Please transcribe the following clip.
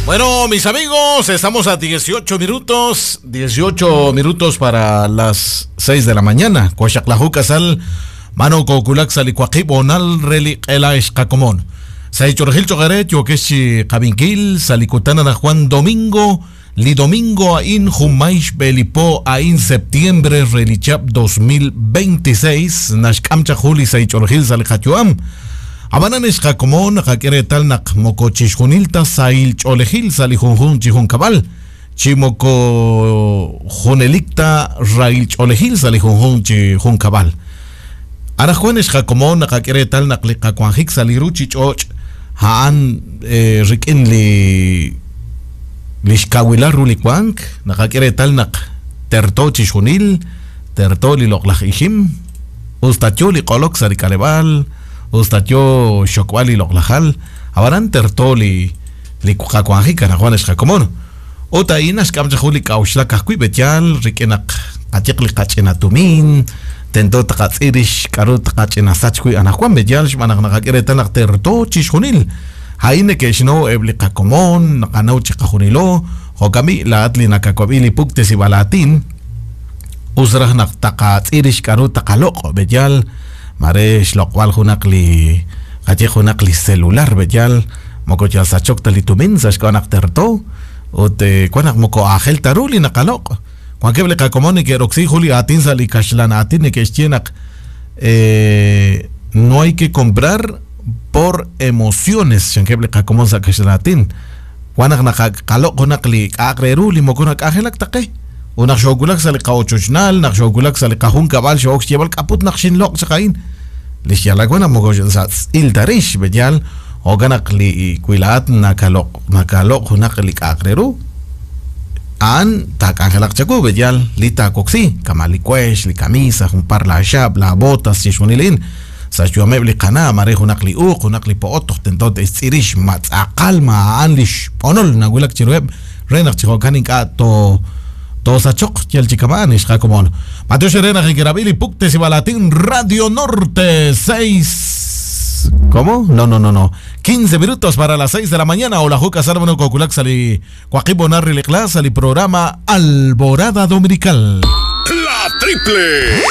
Bueno, mis amigos, estamos a 18 minutos, 18 minutos para las 6 de la mañana. Coaxaclajú Casal, Mano Coculak Salicuaqib, Onal Reli Ela Escacomón. Saichorgil Chogare, Yokeshi Cabinkil, Salicutana Juan Domingo, Li Domingo Ain Jumaish Belipo Ain septiembre Relichap 2026, Nashkamcha Juli Saichorgil Salicachuam. Abanan ixqakomon qak'eretal naq moko chixjunilta sahil ch'oolejil sa' li junjunq chi junkab'al, chi moko junelikta rahil ch'oolejil sa' li junjunq chi junkab'al. Anaqwan ixqakomon naqak'e reetal naq li qawanjik sa' li ruuchich'och' a'an rik'in li li xkawilal ru li wank, naqak'e reetal naq terto chixjunil, terto li loq'laj ixim, us ta yo li q'olok sa' li k'aleb'aal, Us ta yo xxokb'al li loq'laj hal, ab'anan terto li li qawanjik anaqwan ex qakomon. Ut a'in naxk'am chaq jun li k'a'uxlak ajwi' b'eyaal rik'in naq qayeq li qach'ina tumin, tento taqatz'il rix k'a'ru taqach'ina sach wi' anaqwan b'eyaal xb'aan naq naqak'e reetal naq terto chixjunil. A'in neke'xnaw eb' li qakomon, naqanaw chiqajunilo, jo'kan b'i' laa'at li nakawab'i li puktesib'aal aatin, us raj naq taqatz'il rix k'a'ru taqaloq' b'eyaal. Mare xloq'b'al junaq li qaye junaq li celular b'eyal moko yal sachok ta li tumin sa' xk'ab'a' naq terto ut wan naq moko aajel ta ru li naqaloq'. Wankeb' li qakomon neke'roksi jun li aatin sa' li kaxlan aatin neke'xye naq no hay que comprar por emociones chankeb' li qakomon sa' kaxlan aatin. Wan naq naqaloq' junaq li k'a'aq re ru li moko nak'anjelak ta qe. Ut naq xoowulak sa' li qa'ochochnal, naq xoowulak sa' li qajunkab'al xoo'ok xyeeb'al k'a'put naq xinloq' chaq a'in. Li xyaalal wan naq moko sa' tz'il ta rix, b'eyal, jo'kan naq li wi laa'at nakaloq' nakaloq' junaq li k'a'aq re ru, a'an taak'anjelaq chawu, b'eyal, li taawoksi, kama' li wex, li kamisa, jun par laaxaab', laabotas, chixjunil a'in. Sa' xyu'ameb' li qana', maare junaq li uuq, junaq li po'ot toj tento te'xtz'il rix ma tz'aqal ma a'an li xb'onol nawulak chiruheb' re naq chi jo'kan ink'a' to toosachoq yal chi kama'an ex qakomon. B'antiox eere naq nekerab'i li puktesib'aal aatin Radio Norte 6 ¿Cómo? No, no, no, no. 15 minutos para las 6 de la mañana. Hola, Juca Salomón Coculak Sali Joaquín Bonarri Leclas, al programa Alborada Dominical. La Triple.